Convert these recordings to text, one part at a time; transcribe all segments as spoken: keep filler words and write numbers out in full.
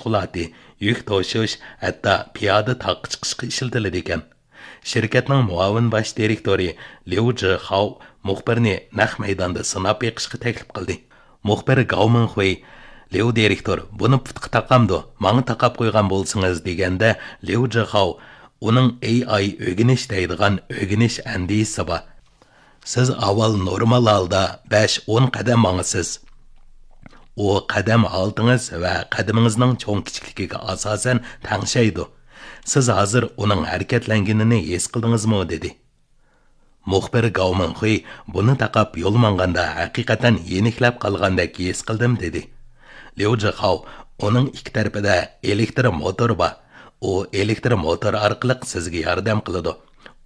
مەشغۇلاتى، يۈك توشۇش، ھەتتا پىيادە تاغقا چىقىشقا ئىشلىتىلىدىكەن. شىركەتنىڭ مۇئاۋىن باش دىرېكتورى ليۇ جىخاۋ مۇخبىرنى نەق مەيداندا سىناپ بېقىشقا تەكلىپ قىلدى. مۇخبىر گاۋ مىڭخۇي، ليۇ دىرېكتور، بۇنى پۇتقا تاقامدۇ، ماڭا تاقاپ قويغان بولسىڭىز، دېگەندە، ليۇ جىخاۋ ئۇنىڭ ئېي ئاي ئۆگىنىش دەيدىغان ئۆگىنىش ئەندىزىسى بار. سىز ئاۋۋال نورمال ھالدا بەش ئون قەدەم ماڭىسىز. ئۇ قەدەم ھالىتىڭىز ۋە قەدىمىڭىزنىڭ چوڭ كىچىكلىكىگە ئاساسەن تەڭشەيدۇ. سىز ھازىر ئۇنىڭ ھەرىكەتلەنگىنىنى ھېس قىلدىڭىزمۇ؟ دېدى. مۇخبىر گاۋ مىڭخۇي بۇنى تاقاپ يول ماڭغاندا ھەقىقەتەن يېنىكلەپ قالغاندەك ھېس قىلدىم، دېدى. ليۇ جىخاۋ، ئۇنىڭ ئىككى تەرىپىدە ئېلېكتر موتور بار. ئۇ ئېلېكتر موتور ئارقىلىق سىزگە ياردەم قىلىدۇ.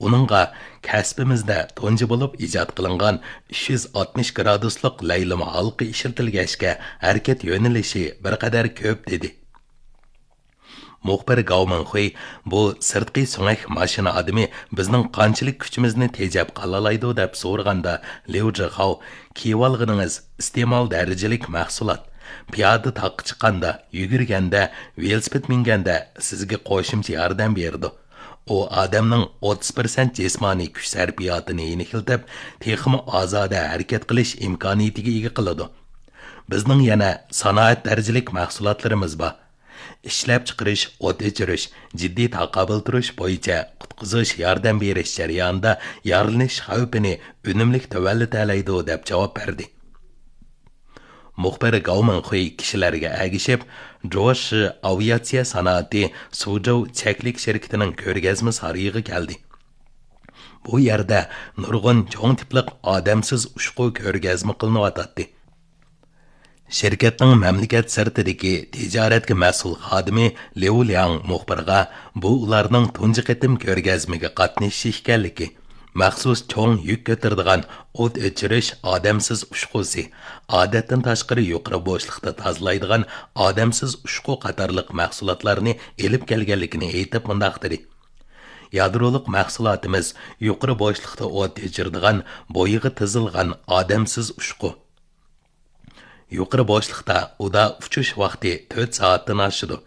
ئۇنىڭغا كەسپىمىزدە تۇنجى بولۇپ ئىجاد قىلىنغان ئۈچ يۈز ئاتمىش گرادۇسلۇق لەيلىمە ھالقا ئىشلىتىلگەچكە، ھەرىكەت يۆنىلىشى بىر قەدەر كۆپ، دېدى. مۇخبىر گاۋ مىڭخۇي، بۇ سىرتقى سۆڭەك ماشىنا ئادىمى بىزنىڭ قانچىلىك كۈچىمىزنى تېجەپ قالالايدۇ، دەپ سورىغاندا، ليۇ جىخاۋ، كىيىۋالغىنىڭىز ئىستېمال دەرىجىلىك مەھسۇلات. پىيادە تاغقا چىققاندا، يۈگۈرگەندە، ۋېلىسىپىت مىنگەندە سىزگە قوشۇمچە ياردەم بېرىدۇ. ئۇ ئادەمنىڭ ئوتتۇز پىرسەنت جىسمانىي كۈچ سەرپىياتىنى يېنىكلىتىپ، تېخىمۇ ئازادە ھەرىكەت قىلىش ئىمكانىيىتىگە ئىگە قىلىدۇ. بىزنىڭ يەنە سانائەت دەرىجىلىك مەھسۇلاتلىرىمىز بار. ئىشلەپچىقىرىش، ئوت ئۆچۈرۈش، جىددىي تاقابىل تۇرۇش بويىچە قۇتقۇزۇش ياردەم بېرىش جەريانىدا يارىلىنىش خەۋپىنى ئۈنۈملۈك تۆۋەنلىتەلەيدۇ، دەپ جاۋاب بەردى. مۇخبىر گاۋ مىڭخۇي كىشىلەرگە ئەگىشىپ، جوشى ئاۋىئاتسىيە سانائىتى سۇجوۋ چەكلىك شىركىتىنىڭ كۆرگەزمە سارىيىغا كەلدى. بۇ يەردە نۇرغۇن چوڭ تىپلىق ئادەمسىز ئۇچقۇ كۆرگەزمە قىلىنىۋاتاتتى. شىركەتنىڭ مەملىكەت سىرتىدىكى تىجارەتكە مەسئۇل خادىمى ليۇ لياڭ مۇخبىرغا بۇ ئۇلارنىڭ تۇنجى قېتىم كۆرگەزمىگە قاتنىشىشى ئىكەنلىكى، مەخسۇس چوڭ يۈك كۆتۈرىدىغان ئوت ئۆچۈرۈش ئادەمسىز ئۇچقۇسى، ئادەتتىن تاشقىرى يۇقىرى بوشلۇقتا تازىلايدىغان ئادەمسىز ئۇچقۇ قاتارلىق مەھسۇلاتلارنى ئېلىپ كەلگەنلىكىنى ئېيتىپ مۇنداق دېدى: يادرولۇق مەھسۇلاتىمىز يۇقىرى بوشلۇقتا ئوت ئۆچۈرىدىغان بويىغا تىزىلغان ئادەمسىز ئۇچقۇ. يۇقىرى بوشلۇقتا ئۇدا ئۇچۇش ۋاقتى تۆت سائەتتىن ئاشىدۇ.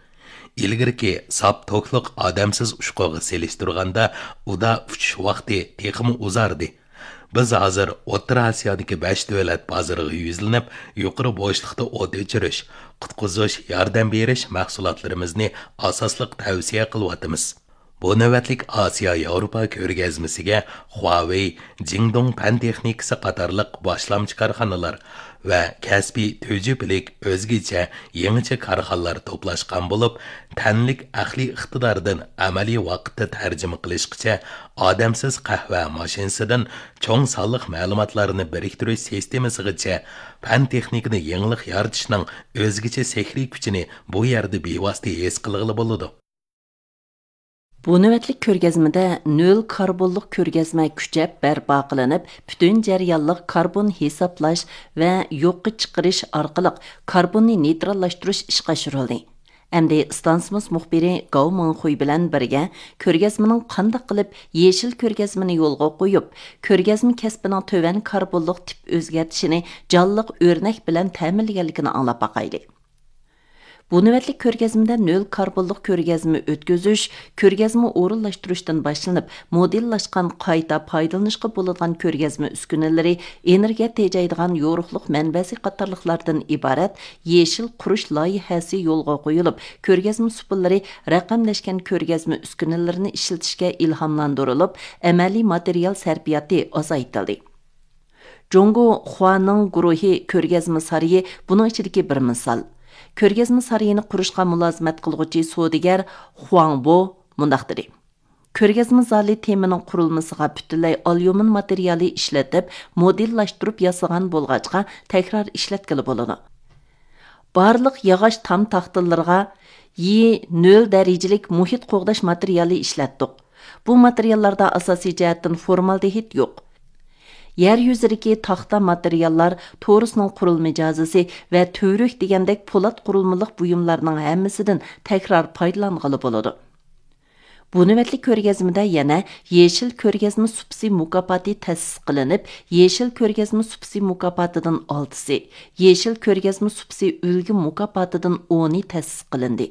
ئىلگىرىكى ساپ توكلۇق ئادەمسىز ئۇچقۇغا سېلىشتۇرغاندا ئۇدا ئۇچۇش ۋاقتى تېخىمۇ ئۇزاردى. بىز ھازىر ئوتتۇرا ئاسىيادىكى بەش دۆلەت بازىرىغا يۈزلىنىپ، يۇقىرى بوشلۇقتا ئوت ئۆچۈرۈش، قۇتقۇزۇش، ياردەم بېرىش مەھسۇلاتلىرىمىزنى ئاساسلىق تەۋسىيە قىلىۋاتىمىز. بۇ نۆۋەتلىك ئاسىيا ياۋروپا كۆرگەزمىسىگە خۇاۋېي، جىڭدۇڭ پەن تېخنىكىسى قاتارلىق باشلامچى كارخانىلار ۋە كەسپىي تۈجۈپىلىك ئۆزگىچە، يېڭىچە كارخانىلار توپلاشقان بولۇپ، تەنلىك ئەقلىي ئىقتىداردىن ئەمەلىي ۋاقىتتا تەرجىمە قىلىشقىچە، ئادەمسىز قەھۋە ماشىنىسىدىن چوڭ سانلىق مەلۇماتلارنى بىرىكتۈرۈش سىستېمىسىغىچە پەن تېخنىكىدا يېڭىلىق يارىتىشنىڭ ئۆزگىچە سېھرىي كۈچىنى بۇ يەردە بىۋاسىتە ھېس قىلغىلى بولىدۇ. بۇ نۆۋەتلىك كۆرگەزمىدە نۆل كاربونلۇق كۆرگەزمە كۈچەپ بەرپا قىلىنىپ، پۈتۈن جەريانلىق كاربون ھېسابلاش ۋە يوققا چىقىرىش ئارقىلىق كاربوننى نېيتراللاشتۇرۇش ئىشقا ئاشۇرۇلدى. ئەمدى ئىستانسىمىز مۇخبىرى گاۋ مىڭخۇي بىلەن بىرگە كۆرگەزمىنىڭ قانداق قىلىپ يېشىل كۆرگەزمىنى يولغا قويۇپ، كۆرگەزمە كەسپىنىڭ تۆۋەن كاربونلۇق تىپ ئۆزگەرتىشىنى جانلىق ئۆرنەك بىلەن تەمىنلىگەنلىكىنى ئاڭلاپ باقايلى. بۇ نۆۋەتلىك كۆرگەزمىدە نۆل كاربونلۇق كۆرگەزمە ئۆتكۈزۈش، كۆرگەزمە ئورۇنلاشتۇرۇشتىن باشلىنىپ، مودېللاشقان قايتا پايدىلىنىشقا بولىدىغان كۆرگەزمە ئۈسكۈنىلىرى، ئېنېرگىيە تېجەيدىغان يورۇقلۇق مەنبەسى قاتارلىقلاردىن ئىبارەت يېشىل قۇرۇش لايىھەسى يولغا قويۇلۇپ، كۆرگەزمە سۇپىلىرى رەقەملەشكەن كۆرگەزمە ئۈسكۈنىلىرىنى ئىشلىتىشكە ئىلھاملاندۇرۇلۇپ، ئەمەلىي ماتېرىيال سەرپىياتى ئازايتىلدى. جۇڭگو خۇانىڭ گۇرۇھى كۆرگەزمە سارىيى بۇنىڭ ئىچىدىكى بىر مىسال. كۆرگەزمە سارىيىنى قۇرۇشقا مۇلازىمەت قىلغۇچى سودىگەر خۇاڭ بو مۇنداق دېدى: كۆرگەزمە زالى تېمىنىڭ قۇرۇلمىسىغا پۈتۈنلەي ئاليۇمىن ماتېرىيالى ئىشلىتىپ، مودېللاشتۇرۇپ ياسىغان بولغاچقا، تەكرار ئىشلەتكىلى بولىدۇ. بارلىق ياغاچ تام تاختىلىرىغا يى نۆل دەرىجىلىك مۇھىت قوغداش ماتېرىيالى ئىشلەتتۇق. بۇ ماتېرىياللاردا ئاساسىي جەھەتتىن فورمالدېھىد يوق. يەر يۈزىدىكى تاختا ماتېرىياللار، تورۇسنىڭ قۇرۇلما جازىسى ۋە تۈۋرۈك دېگەندەك پولات قۇرۇلمىلىق بۇيۇملارنىڭ ھەممىسىدىن تەكرار پايدىلانغىلى بولىدۇ. بۇ نۆۋەتلىك كۆرگەزمىدە يەنە يېشىل كۆرگەزمە سۇپىسى مۇكاپاتى تەسىس قىلىنىپ، يېشىل كۆرگەزمە سۇپىسى مۇكاپاتىدىن ئالتىسى، يېشىل كۆرگەزمە سۇپىسى ئۈلگە مۇكاپاتىدىن ئونى تەسىس قىلىندى.